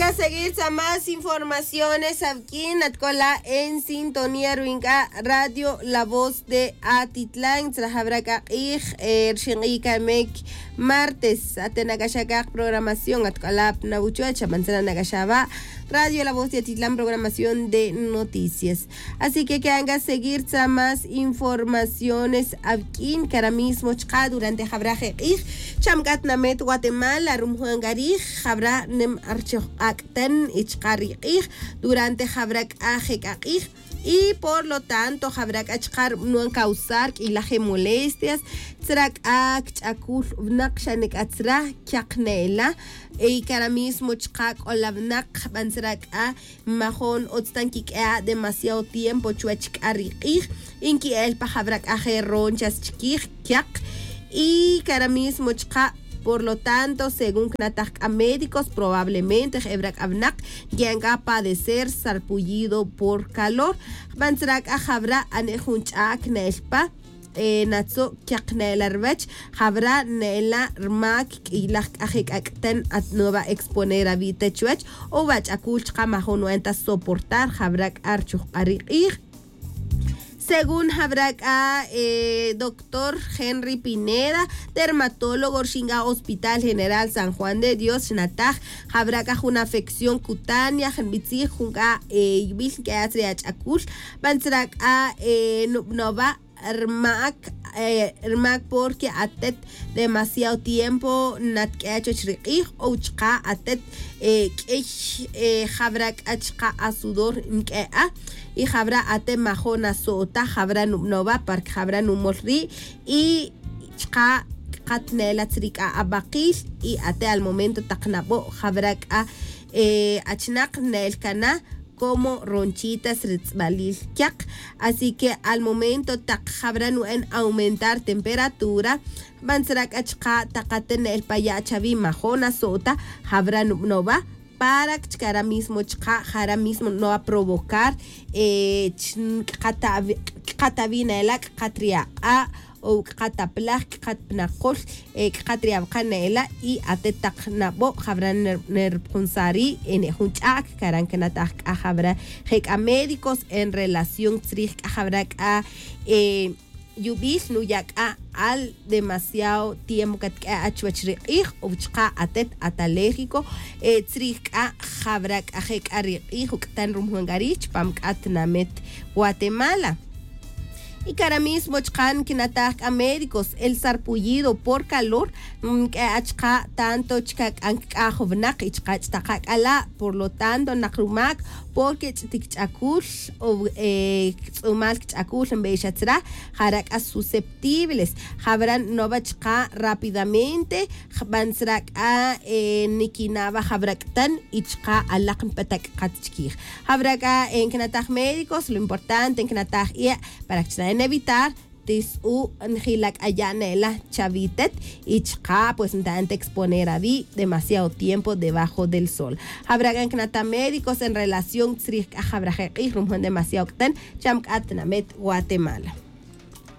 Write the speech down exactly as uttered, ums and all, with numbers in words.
Seguir tz'a más informaciones awq'uin atc'ola' en sintonía ruwin c'a radio la voz de atitlan tzra jawra c'a k'ij rixin k'ij camic martes ate nac'axa c'a programación atc'ola' pa nawuchuwech xaban tzra nac'axa wa' radio la voz de atitlan programación de noticias. Así que quedan c'a seguir tz'a más informaciones awq'uin cara mismo chka' durante jawra je k'ij cham c'a tinamet guatemala rumujun c'a rij jawra nem archoj k'ak' ten y chka' ri k'ij durante jawra c'a je k'a k'ij. Y por lo tanto jawra c'a chka' rub'anon causar q'uilaj je molestias tzra c'a kch'acul winak xa nic'a tzra caq ne'ela. Y cara mismo chka' c'ola winak jban tzra c'a majon utz ta nquiq'ue'a' demasiado tiempo chuwech c'a ri k'ij y nqui'el pa jawra c'a je ronchas chiquij caq. Y cara mismo chka' por lo tanto según cnataj c'a médicos probablemente jewra c'a winak nqui'an c'a padecer sarpullido por calor. Jban tzra c'a jawra ane' jun ch'a'c ne'el pa natzu' caq ne'ela ruwech jawra ne'ela rmac q'uilaj c'a je c'ac'ten at nuwa' exponer awi' te chuwech o wa ch'acul chka' majon nu'en ta soportar jawra c'a rchujk'al ri k'ij. Según jawra c'a doctor henry pineda, dermatólogo rixin c'a hospital general san juan de dios xnataj jawra c'a jun afección cutánea jnbitzij jun c'a yubil nq'ue'at re ach'acul. Jban tzra c'a nub'nowa' rmac rmac porque atet demasiado tiempo natq'ue'a chuwech ri k'ij o chka' atet q'uiy jawra c'a chka' asudor nq'ue'a y jawra atet majon aso'ta jawra nub'nowa' para que jawra numol ri' y chka' ckat ne'ela tzri c'a abakil y atet al momento tak nabo' jawra c'a achinak ne'el cana como ronchitas ri tz'balil caq. Así que al momento tak jawra nu'en aumentar temperatura jban tzra c'a chka' tak aten ne'el pa ya' chawi majon aso'ta jawra nub'nowa' para que chkara mismo chka' jara mismo nub'nowa' provocar ckat awi' ne'ela ckat ri ak'a' o ckat aplaj ckat pa nakol ckat ri awaka' ne'ela y atet tak nabo' jawra nerupjunsaj ri' ene' jun ch'a'c caran cnataj c'a jawra je c'a médicos en relación tzrij c'a jawra c'a yubil nuya' c'a al demasiado tiempo catq'ue' at chuwech ri k'ij o chka' atet at alérgico tzrij c'a jawra c'a je c'a ri k'ij uc'tan rumujun c'a ri' chupam c'a tinamet guatemala. Y cara mismo chka' nquinataj c'a médicos el sarpullido por calor nq'ue' achka' tanto chka' c'a ncac'aj winak y chka' ch'taka' c'ala'. Por lo tanto nak rumac porque ch'tik ch'acul o tz'umal ch'acul nbe'ex atzra jara' c'a susceptibles jawra nnowa' chka' rápidamente jban tzra c'a niquina' wa jawra c'tan y chka' alak npeta c'at chiquij. Jawra c'a ncnataj médicos lo importante ncnataj ie' para que chna' nevitar tis'u njila c'a ya' ne'ela chawitet y chka' pues ntaen ta exponer awi' demasiado tiempo debajo del sol. Jawra c'a ncnataj médicos en relación tzrij c'a jawra je k'ij rumujun demasiado c'tan cham c'a tinamet guatemala.